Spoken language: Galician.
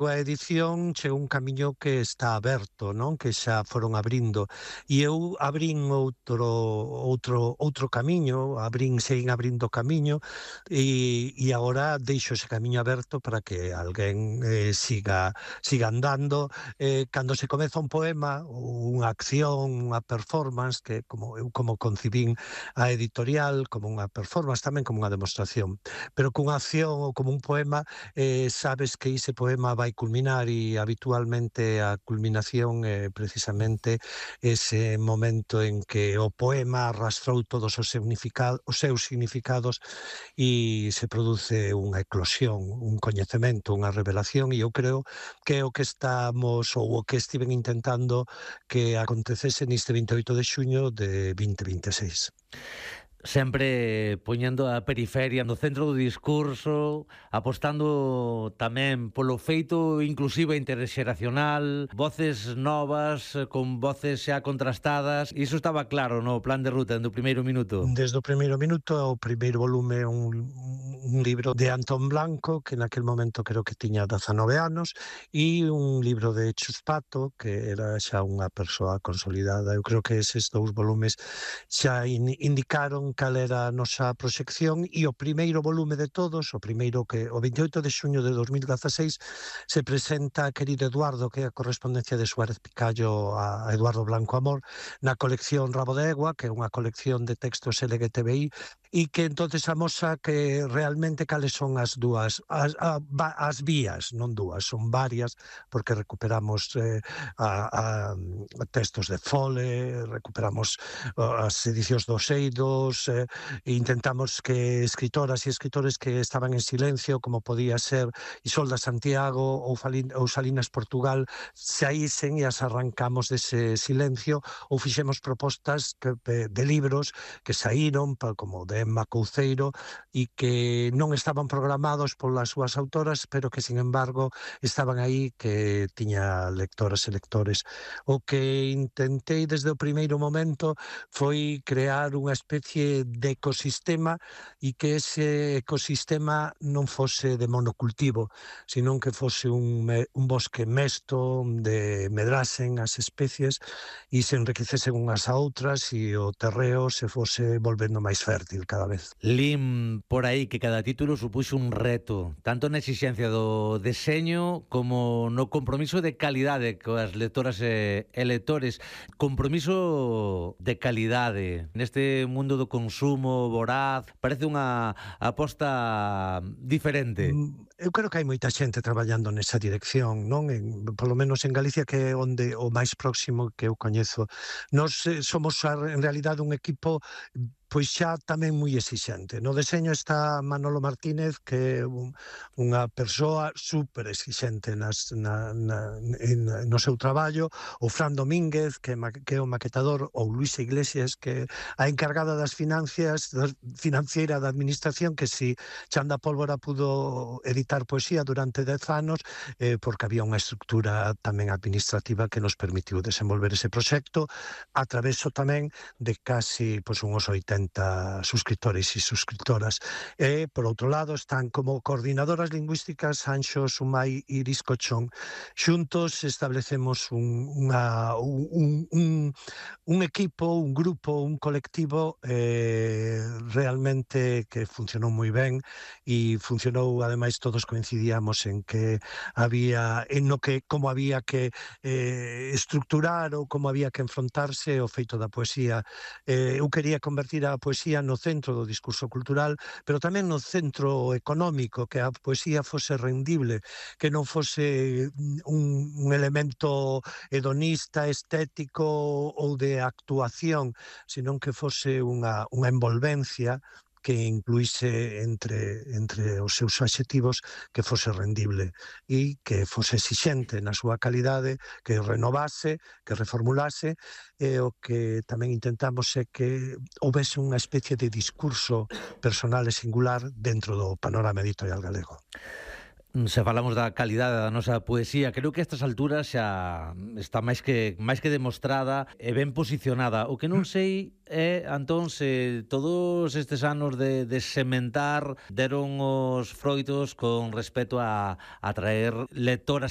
A edición chegou un camiño que está aberto, non? Que xa foron abrindo. E eu abrín outro camiño, seguín abrindo camiño, e agora deixo ese camiño aberto para que alguén siga andando. Cando se comeza un poema, ou unha acción, unha performance, que como concibín a editorial, como unha performance, tamén como unha demostración. Pero cunha acción ou como un poema, sabes que ese poema vai culminar, e habitualmente a culminación é precisamente ese momento en que o poema arrastrou todos os seus significados e se produce unha eclosión, un coñecemento, unha revelación, e eu creo que é o que estamos, ou o que estiven intentando que acontecese neste 28 de xuño de 2026. Sempre poñendo a periferia no centro do discurso, apostando tamén polo feito inclusive interxeracional, voces novas, con voces xa contrastadas. Iso estaba claro no plan de ruta do primeiro minuto. Desde o primeiro minuto, o primeiro volume é un libro de Antón Blanco, que naquel momento creo que tiña 19 anos, e un libro de Chus Pato, que era xa unha persoa consolidada. Eu creo que eses dous volumes xa indicaron cal era a nosa proxección, e o primeiro volume de todos, o 28 de xuño de 2016, se presenta a querido Eduardo, que é a correspondencia de Suárez Picallo a Eduardo Blanco Amor, na colección Rabo de Egua, que é unha colección de textos LGTBI, e que entonces amosa que realmente cales son as vías, non dúas, son varias, porque recuperamos textos de Fole, recuperamos as edicións dos Eidos, e intentamos que escritoras e escritores que estaban en silencio, como podía ser Isolda Santiago ou Salinas Portugal, saísen, e as arrancamos dese silencio, ou fixemos propostas de libros que saíron, como de Emma Couceiro, e que non estaban programados polas súas autoras, pero que, sin embargo, estaban aí, que tiña lectoras e lectores. O que intentei desde o primeiro momento foi crear unha especie de ecosistema, e que ese ecosistema non fose de monocultivo, senón que fose un bosque mesto, onde medrasen as especies e se enriquecesen unhas a outras, e o terreo se fose volvendo máis fértil cada vez. Lim por aí que cada título supuxo un reto, tanto na exixencia do deseño como no compromiso de calidade coas lectoras e lectores. Compromiso de calidade neste mundo do consumo voraz, parece unha aposta diferente. Eu creo que hai moita xente traballando nesa dirección, non? Polo menos en Galicia, que é onde o máis próximo que eu coñezo. Nós somos en realidade un equipo pois xa tamén moi exixente. No deseño está Manolo Martínez, que é unha persoa super exixente no seu traballo, o Fran Domínguez, que é o maquetador, ou Luisa Iglesias, que é a encargada das financiera da administración, que si Chanda Pólvora pudo editar poesía durante 10 anos, porque había unha estructura tamén administrativa que nos permitiu desenvolver ese proxecto, a traveso tamén de casi unhos 80 suscriptores e suscriptoras. E, por outro lado, están como coordinadoras lingüísticas Anxo Sumai e Iris Cochón. Xuntos establecemos un equipo, un grupo, un colectivo realmente que funcionou moi ben, e funcionou, ademais, todos coincidíamos en que como había que estructurar, ou como había que enfrontarse o feito da poesía. Eu quería convertir a poesía no centro do discurso cultural, pero tamén no centro económico, que a poesía fose rendible, que non fose un elemento hedonista, estético ou de actuación, senón que fose unha envolvencia que incluíse entre os seus adxetivos, que fose rendible e que fose exixente na súa calidade, que renovase, que reformulase, e o que tamén intentamos é que houvese unha especie de discurso personal e singular dentro do panorama editorial galego. Se falamos da calidade da nosa poesía, creo que a estas alturas xa está máis que demostrada e ben posicionada. O que non sei é, Antón, se todos estes anos de sementar deron os froitos con respecto a atraer lectoras